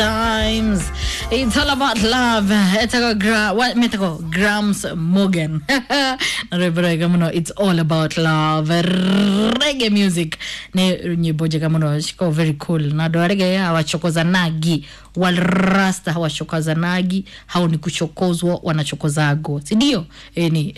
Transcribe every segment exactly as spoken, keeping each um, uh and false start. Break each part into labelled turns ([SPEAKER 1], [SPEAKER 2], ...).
[SPEAKER 1] Times. It's all about love. Etagwo gra what metagwo Grams Morgan. Na rwĩmbo rwega mũno, it's all about love. Reggae music nĩ nyĩmbo njega mũno, ciko very cool. Na andũ a reggae hawachokozanagi, warasta hawachokozanagi, hao ni kuchokozwa wanachokozago, si ndio? Eni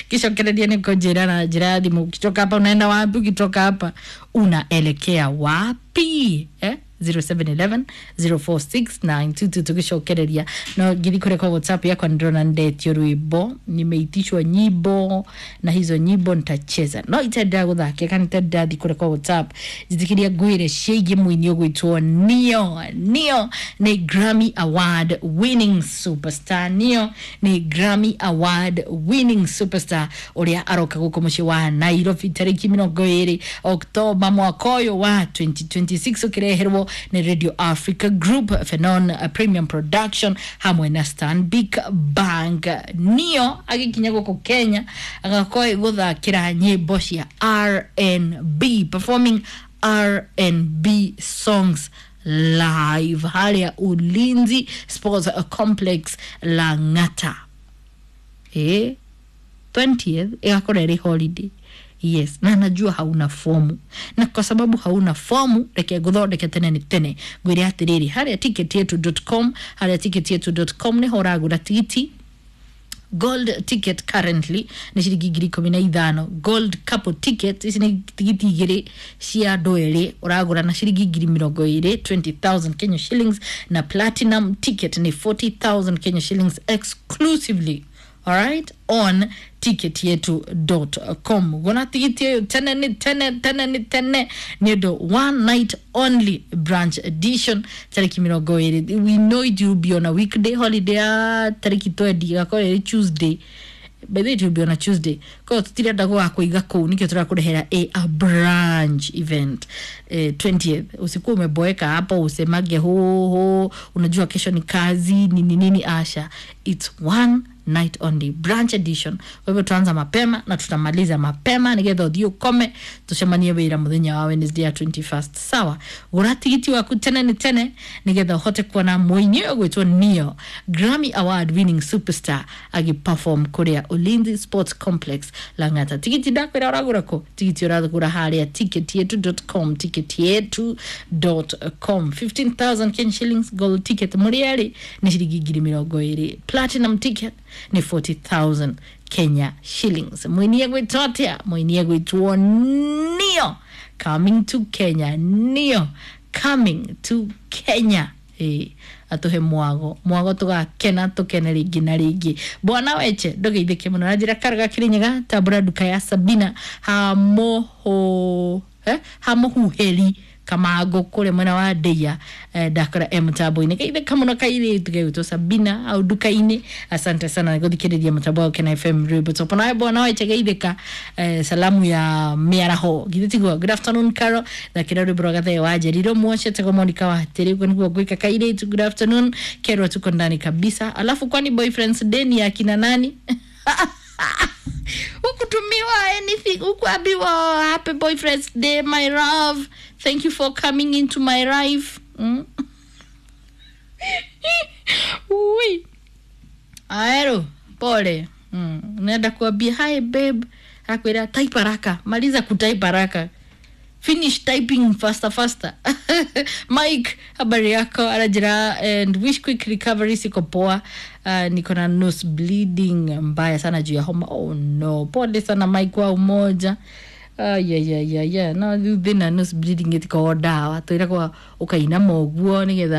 [SPEAKER 1] kishokereria nĩ kũnjĩra na njĩra ya thimũ, ukitoka hapa unaenda wapi? Ukitoka hapa unaelekea wapi eh? zero seven one one, zero four six nine two two tugicokereria no ngithi kuria kwa WhatsApp yakwa ndĩrona ndetio rwimbo, nimeitishwa nyimbo na hizo nyimbo nitacheza no itendea guthakia kana itendea thi kuria kwa WhatsApp njitikiria ngwire ciĩgiĩ mũini ũgwĩtwo Neo. Neo nĩ Grammy Award winning superstar. Neo nĩ Grammy Award winning superstar ũrĩa aroka gũkũ mũciĩ wa Nairobi tarĩki mĩrongo ĩrĩ Oktoba mwaka ũyũ wa twenty twenty-six ũkĩreherwo nĩ Radio Africa Group, Fenon Premium Production hamwe na Stanbic Bank. Neo agĩkinya gũkũ Kenya agakorwo gũthakĩra nyĩmbo cia R and B, performing R and B songs live harĩa Ulinzi Sports Complex Lang'ata. Eh, twentieth ĩgakorwo ĩrĩ holiday. Yes, na najua hauna fomu, na kwa sababu hauna fomu reke nguthondeke tene ni tene ngwire atiriri haria ticket yetu dot com, haria ticket yetu dot com niho uragura tigiti. Gold ticket currently nĩ ciringi ngiri ikũmi na ithano. Gold couple ticket ici nĩ tigiti igĩrĩ cia andũ erĩ ũragũra na ciringi ngiri mĩrongo ĩrĩ, twenty thousand Kenya shillings, na platinum ticket nĩ forty thousand Kenya shillings exclusively, alright, on ticket yetu dot com. Gona tigiti ĩyo tene nĩ tene tene nĩ tene nĩ ũndũ one night only branch edition tarĩki mĩrongo ĩrĩ. We know it will be on a weekday holiday ya tarĩki twenty, ĩgakorwo ĩrĩ Tuesday. By the way, it will be on a Tuesday. Kwa tutirenda gũgakũiga kũu, nĩkĩo tũrakũrehera a, a branch event eh, twentieth. Usikuwa umeboeka hapo usemage ho ho, unajua kesho ni kazi nini nini. Asha, it's one night only branch edition. Kwa hivyo tuanza mapema na tutamaliza mapema nigetha ũthiĩ ũkome tucemanie wĩra mũthenya wa Wednesday ya twenty-first. Sawa, gũra tigiti waku tene nĩ tene nigetha ũhote kuona mũini ũyũ ũgwĩtwo Neo, Grammy Award winning superstar, agĩperform kũrĩa Ulinzi Sports Complex Lang'ata. Tigiti ndakwĩra ũragũra kũ? Tigiti ũragũra harĩa ticket yetu dot com, ticket yetu dot com. fifteen thousand Kenya shillings gold ticket mũrĩ erĩ nĩ ciringi ngiri mĩrongo ĩrĩ. Platinum ticket ni forty thousand Kenya shillings. Mũini egwĩtwo atĩa? Mũini egwĩtwo Neo, coming to Kenya. Neo coming to Kenya. Eh, atuhe mwago mwago tugakena tukene rĩngĩ na rĩngĩ. Bwana Weche ndũgeithĩke mũno na njĩra karaga Kĩrĩnyaga tambũra nduka ya Sabina hamoho eh, hamohuheri Kamango kũrĩa mwena wa Ndeia eh, ndakora e mũtambo-inĩ geithĩka mũno kairĩtu gegwĩtwo Sabina au nduka-inĩ. Asante sana gũthikĩrĩria mũtambo wa Kena F M rwĩmbo topo. Nawe bwana Weche geithĩka eh, salamu ya mĩaraho githĩ tiguo. Good afternoon Carol, thakĩra rwĩmbo rwa Gathee wa Njerirũ Mwoshe tego Monica wa Hatĩrĩ, ũguo nĩguo ngwĩka kairĩtu. Good afternoon Kerwa, tuko ndani kabisa. Alafu kwani boyfriends day ni ya kina nani? Hukutumiwa anything, hukuambiwa happy boyfriend's day my love, thank you for coming into my life. Mm? Ui. Aero, pole. Mm. Unaenda kuambia hi babe, akwira type haraka, maliza kutype haraka. Finish typing faster faster. Mike, habari yako? Anajira and wish quick recovery, siko poa. Uh, niko na nose bleeding mbaya sana juu ya homa. Oh no, pole sana Mike wa umoja. Uh, yeah, yeah, yeah, yeah. No, thina nose bleeding ĩtikoragwo ndawa twĩragwo ũkainama ũguo nĩgetha